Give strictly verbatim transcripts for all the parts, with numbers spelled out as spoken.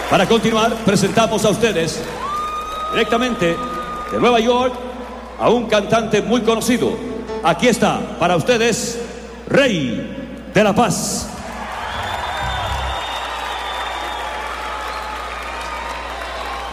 Para continuar, presentamos a ustedes directamente de Nueva York a un cantante muy conocido. Aquí está, para ustedes, Rey de la Paz.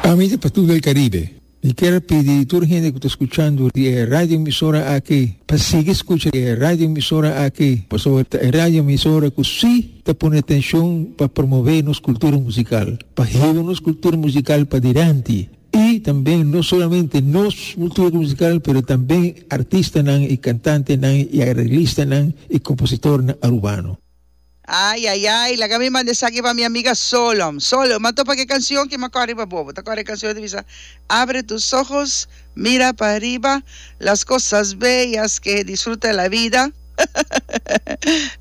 Ami ta Patou del Caribe. Mi kier pidi tur hende ku ta skuchando di e radio emisora aki pa sigui skucha e radio emisora aki pasobra ta e radio emisora ku si ta pone atenshon pa promove nos kultura musikal, pa hiba nos kultura musikal padilanti i tambe no solamente nos kultura musikal pero tambe artistanan i kantantenan i areglistanan i kompositornan arubano. Ay, ay, ay, laga mi manda esaki pa mi amiga Solom. Solom, m'a topa ke cancion ki m'a kore riba bo. Bo ta kore e cancion ta bisa, Abre tus ojos, mira pa riba, las cosas bellas que disfruta la vida.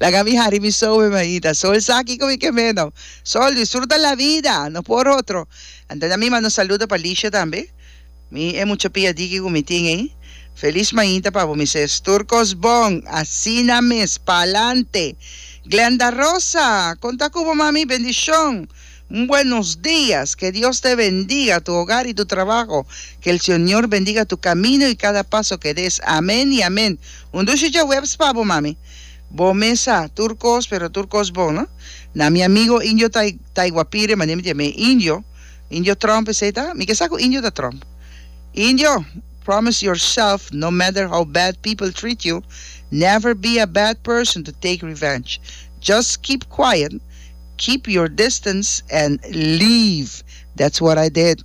Laga mi hari mi sowe mainta. Sol sa kiko mi ke meno. Sol, disfruta la vida, no por otro. Anto na mi manda un saludo pa Lisha tambe. Mi e mucha pia diki ku mi tin ei. Felis mainta pa bo mi ses. Tur kos bon. Asina mes. Palante. Glenda Rosa, konta ku bo mami. Bendishon. Un buenos dias. Que Dios te bendiga, tu hogar y tu trabajo. Que el Señor bendiga tu camino y cada paso que des. Amen y amen. Un dushi djaweps pa bo mami. Bo mes sa, tur kos, pero tur kos bon, no? Na mi amigo Indio Taiguapire, manera mi ta yam'é Indio. Indio Trump esey ta? Mi ke sa ku Indio ta Trump. Indio, promise yourself no matter how bad people treat you, never be a bad person to take revenge. Just keep quiet, keep your distance and leave. That's what I did.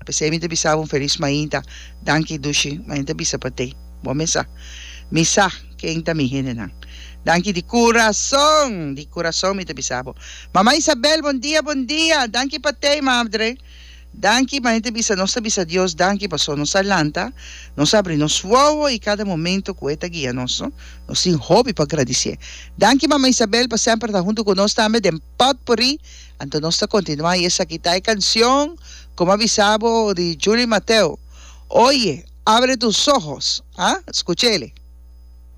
P'esey mi ta bisa bo un felis mainta. Danki dushi, mainta bisa pa te. Bo mes sa. Mi sa ken ta mi hendenan. Danki di kurason, di kurason mi ta bisa bo. Mama Isabel, bon dia, bon dia. Danki pa tei, madre. Danki, ma hende bisa, nos ta bisa Dios danki paso nos a lanta, nos a abri nos wowo i kada momento ku E ta guia nos, no? Nos tin hopi pa gradisié. Danki, Mama Isabel, pa semper ta huntu ku nos tambe den Potpourri. Anto nos ta kontinuá i esaki ta e kansion, komo a bisa bo, di Julie Mateo, Oye, abre tus ojos. Ah, skuch'ele.